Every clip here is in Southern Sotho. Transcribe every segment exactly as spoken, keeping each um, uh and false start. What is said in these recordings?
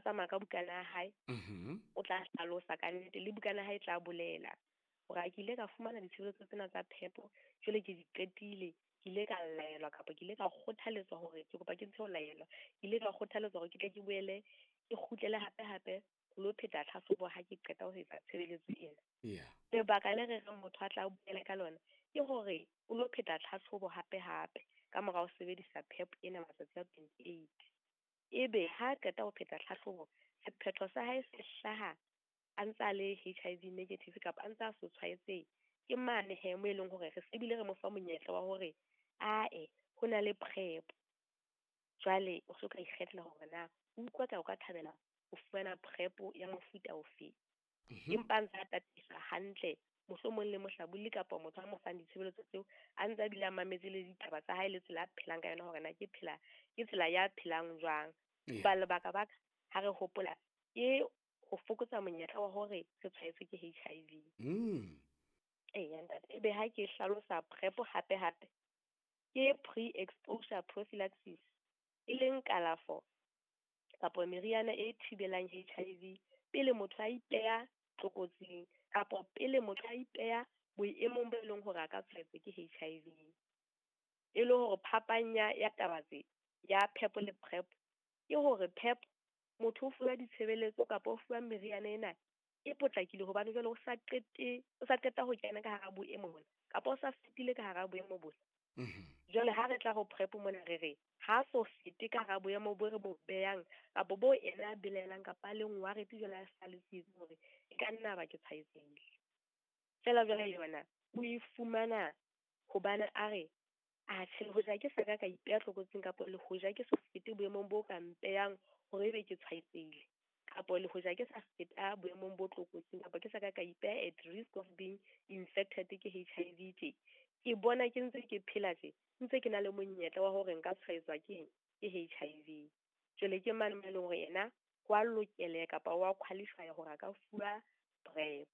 tsamaya ka bukana ya hae, Mhm. o tla hlalosa ka nnete le bukana ya hae e tla bolela hore a ke ile ka fumana ditshebeletso tsena tsa phepo, jwale ke di qetile, ke ile ka laelwa kapa ke ile ka kgothaletswa hore ke kopa ke ntshe ho laelwa, ke ile ka kgothaletswa hore ke tle ke boele ke kgutlele hape hape ho lo pheta tlhahlobo ha ke qeta ho etsa tshebeletso ena. Yeah. Lebaka le re reng motho a tla boela ka lona ke hore o lo pheta tlhahlobo hape hape ka mora ho sebedisa PEP ena matsatsi a twenty-eight. Ebe ha qeta ho pheta tlhahlobo, sephetho sa hae se hlaha a ntse a le H I V negative kapa a ntse a so tshwaetsehe, ke mane he mo e leng hore re se bile re mo fa monyetla wa hore ae ho na le PrEP. Jwale o so ka ikgethela hore na o utlwa ka o ka thabela ho fumana PrEP ya mofuta ofe. Mhm. Empa a ntse a tataiswa hantle, mohlomong le mohlabolli kapa motho a mo fang ditshebeletso tseo, a ntse a bile a mametse le ditaba tsa hae le tsela a phelang ka yona hore na ke phela, ke tsela ya phelang jwang. Yeah. Ba lebaka baka ha re hopola ke ho fokotsa monyetla wa hore re tshwaetswe ke H I V. Mm. Eya, ntate. Ebe ha ke hlalosa PrEP hape hape, ke pre-exposure prophylaxis, e leng kalafo kapa meriana e thibelang H I V pele motho a ipeha tlokotsing kapa pele motho a ipeha boemong bo e leng hore a ka tshwaetswa ke H I V. E le hore phapang ya, ya taba tse ya PEP le PrEP ke hore PEP motho o fuwa ditshebeletso kapa o fuwa meriana ena e potlakile hobane jwale o sa qete, o sa qeta ho kena ka hara boemo bona kapa o sa fetile ka hara boemo bona. Mhm. Jwale ha re tla ho PrEP mona re re ha so fete ka hara boemo bo re bo behang kapa bo ena a belaelang kapa a leng worried jwale a sa le tsietsing hore e ka nna ba ke tshwaetsehile. Feela jwale yona o e fumana hobane a re a tjhe, le hoja ke sa ka ka ipeha tlokotsing kapa le hoja ke so fete boemong bo ka mpehang hore ebe ke tshwaetsehile kapa le hoja ke sa feta boemong bo tlokotsing kapa ke sa ka ka ipeha at risk of being infected ke H I V tje, ke bona ke ntse ke phela tje, ntse ke na le monyetla wa hore nka tshwaetswa ke eng? Ke H I V. Jwale ke mane mo e leng hore yena ho a lokeleha kapa wa qualify hore a ka fuwa PrEP.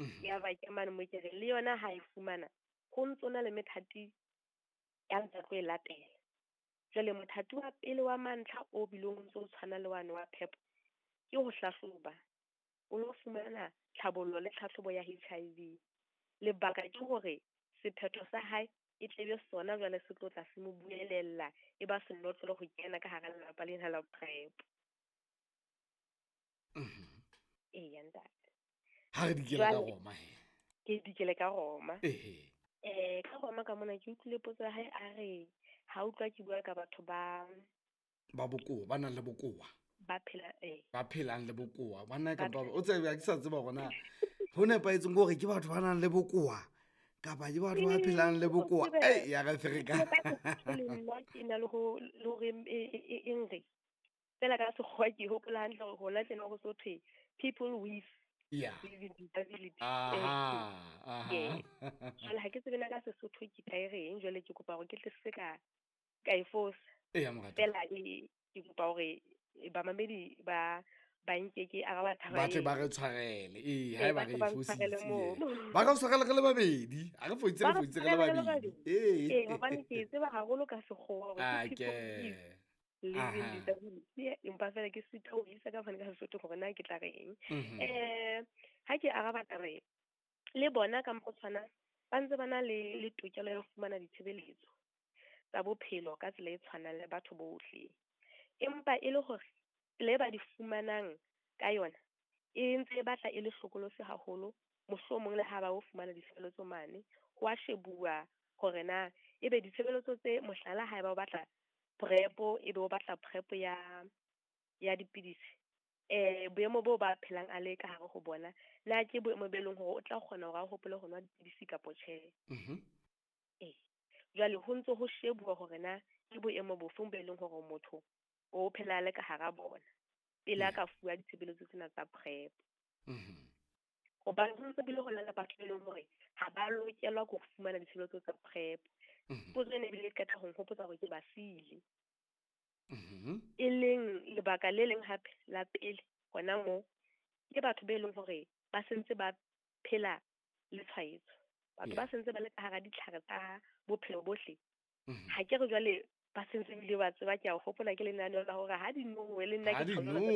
Mhm. Ya ba ke mane mo ke reng le yona ha e fumana ho ntso na le methati ya ntse tlo e latela. Jwale mothati wa pele wa mantlha o bileng o ntso o tshwana le wane wa PEP ke ho hlahloba, o lo fumana tlhabollo le tlhahlobo ya H I V. Lebaka ke hore sephetho sa hae e tlebe sona jwale se tlo tla se mo buelella, e ba senotlolo ho kena ka hara lelapa lena la PrEP. Mhm. Eya, ntate. Ha re dikele ka Jwale, Roma he. Ke dikele ka Roma. Ehe. Eh, ka Roma ka mona ke utlwile potso ya hae a re ha utlwa ke bua ka batho ba ba bokowa, ba nang le bokowa. Ba phela, eh. Ba phelang le bokowa. Ba nna Ba kapa phela. o tsebe ha ke sa tseba hore na ho nepahetseng ke hore ke batho ba nang le bokowa kapa ke batho ba Ee, phelang le o bokowa. tsebe, Ei, ya re fereka. ke ka Sesotho le nna ke na le ho, le hore e, e, e, e nre. Feela ka sekgowa ke hopola hantle hore hona tjena ho so thwe people with Yeah. living disability. Aha, aha. Yes. Jwale ha ke tsebe na ka Sesotho ke tla e reng, jwale ke kopa hore ke tle se ka, ka e fosa. Eya, moratuwa. Feela e, ke kopa hore bamamedi ba, ba nke ke araba taba Ba tle eo. ba re tshwarele. Ee, Ee, haeba ba re tle ba e ntshwarele fositse, moo. ee. Ba re tshwarele re le babedi. Ha re fositse, re Ba re fositse re le tshwarele re le babedi. babedi. Ee. Ee, hobane ke e tseba haholo ka sekgowa hore ke Ah, people ke. with living Aha. disability. Empa feela ke sita ho isa ka hobane ka Sesotho hore na ke tla reng. Mhm. Eh, ha ke araba taba e, le bona ka mokgwa o tshwanang, ba ntse ba na le, le tokelo ya ho fumana ditshebeletso tsa bophelo ka tsela e tshwanang le batho bohle. Empa e le hore tsela e ba di fumanang ka yona e ntse e batla e le hlokolosi haholo, mohlomong le ha ba o fumana ditshebeletso mane, ho a shebuwa hore na ebe ditshebeletso tse, mohlala ha eba o batla PrEP, ebe o batla PrEP ya, ya dipidisi, eh, boemo boo ba phelang a le ka hare ho bona, na ke boemo be leng hore o tla kgona hore a hopole ho nwa dipidisi kapa tjhe? Mhm. Eh, jwale ho ntso ho shebuwa hore na ke boemo bofeng bo e leng hore motho o phela le ka hara bona pele a Yeah. ka fuwa ditshebeletso tsena tsa PrEP. Mhm. Hobane ho ntse bile ho na le batho be leng hore ha ba lokelwa ke ho fumana ditshebeletso tsa PrEP. Mhm. Potso ena ebile e qeta ho nhopotsa hore ke ba siile. Mhm. E leng lebaka le leng hape la pele hona moo ke batho be leng hore ba sentse ba phela le tshwaetso. Batho ba Yeah. sentse ba le ka hara ditlhare tsa bophelo bohle. Mhm. Ha ke re jwale ba sentse ebile ba tseba, ke a hopola ke lenaneo la hore ha di nowe le nna Ha ke di tshwanela nowe.